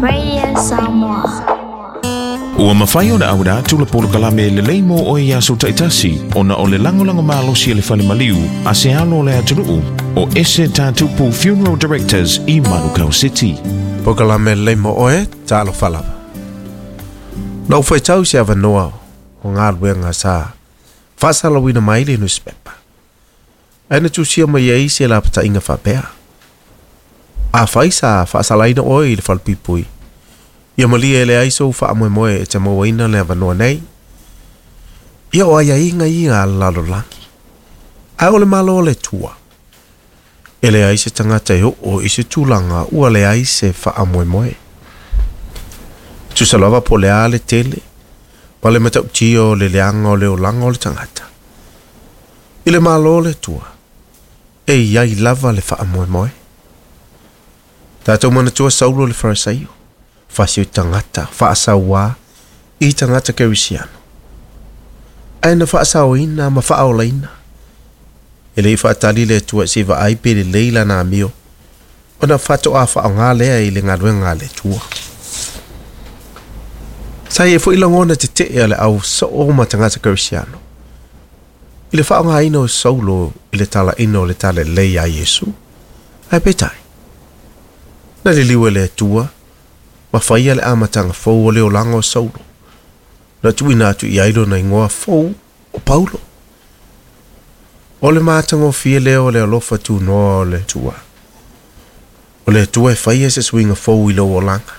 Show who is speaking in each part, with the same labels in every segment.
Speaker 1: Radio Samoa.
Speaker 2: Ua mafai ona auina atu le polokalame lelei mo oe i aso taitasi ona o le lagolago malosi a le Fale Maliu a se alo o le atunuu o Ese Tatupu Funeral Directors i Manukau City.
Speaker 3: Polokalame lelei mo oe, talofa lava. Na ou faitau i se avanoa o galuega sa faasalauina mai le newspaper. Ae na tusia mai ai se lapataiga faapea. Afai sa faasalaina oe i le falepuipui, ia malie e leai sou faamoemoe e te mauaina le avanoa nei. Ia o aiaiga ia a le lalolagi. Ae o le Malo o le Atua. E leai se tagata e oo i se tulaga ua leai se faamoemoe. Tusa lava po o le a le tele ma le matautia o le leaga o le olaga o le tagata. I le Malo o le Atua, e i ai lava le faamoemoe. Tatou manatua Saulo le Farisaio, fasi o tagata faasauā i tagata Kerisiano. Ae na faasaoina ma faaolaina. E le i faatali le Atua se i vaai pe lelei lana amio, ona faatoa faaaoga lea i le galuega a le Atua. Sa i ai foi lagona tetee a le au soo ma tagata Kerisiano i le faaaogaina o Saulo i le talaina o le talalelei ia Iesu. Ae peitai, na liliu e le Atua ma faia le amataga fou o le olaga o Saulo, na tuuina atu i ai lona igoa fou o Paulo. O le matagofie lea o le alofa tunoa o le Atua. O le Atua e faia se suiga fou i lou olaga.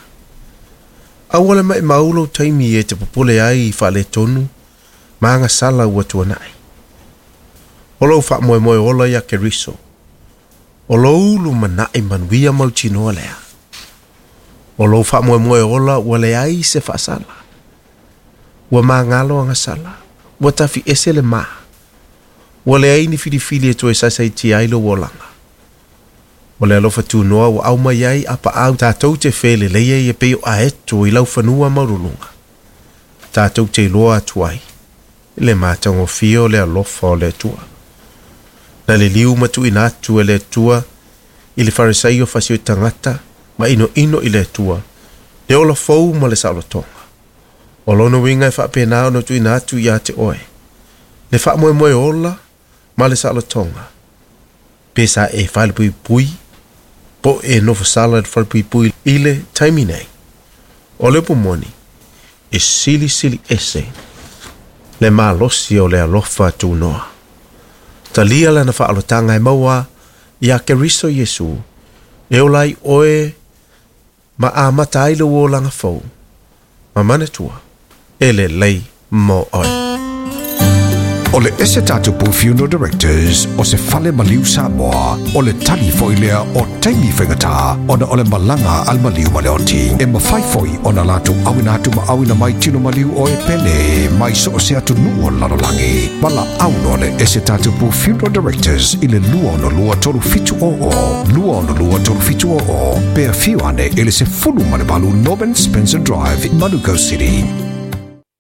Speaker 3: Aua le maimau lou taimi e te popole ai i faaletonu ma agasala ua tuanai. O lou faamoemoe ola ia Keriso. O lou lumanai manuia mautinoa lea. O lou faamoemoe ola ua leai se faasala. Ua magalo agasala. Ua tafi ese le ma. Ua leai ni filifili e toe saisaitia ai lou olaga. O le alofa tunoa ua aumai ai apaau tatou te felelei ai e pei o aeto i laufanua maualuluga. Tatou te iloa atu ai le matagofie o le alofa o le Atua. Na liliu ma tuuina atu e le Atua i le Farisaio fasi o tagata ma inoino i le Atua le ola fou ma le saolotoga. O lona uiga e faapena ona tuuina atu ia te oe le faamoemoe ola ma le saolotoga. Pe sa e falepuipui po e nofosala i le falepuipui i le taimi nei. O le upu moni, e silisili ese le malosi o le alofa tunoa. Talia lana faaolotaga e maua ia Keriso Iesu, e ola ai oe ma amata ai lou olaga fou, ma manatua, e lelei mo oe.
Speaker 4: O le Ese Tatupu Funeral Directors o se fale maliu Samoa, o le tali foi lea o taimi faigata ona o le malaga a le maliu ma le oti. E mafai foi ona latou auina atu ma auina mai tino maliu o e pele mai so o se atunuu o le lalolagi. Valaau loa le Ese Tatupu Funeral Directors i le 262 3700, 262 3700, pe afio ane i le 18 Norman Spencer Drive, Manukau City.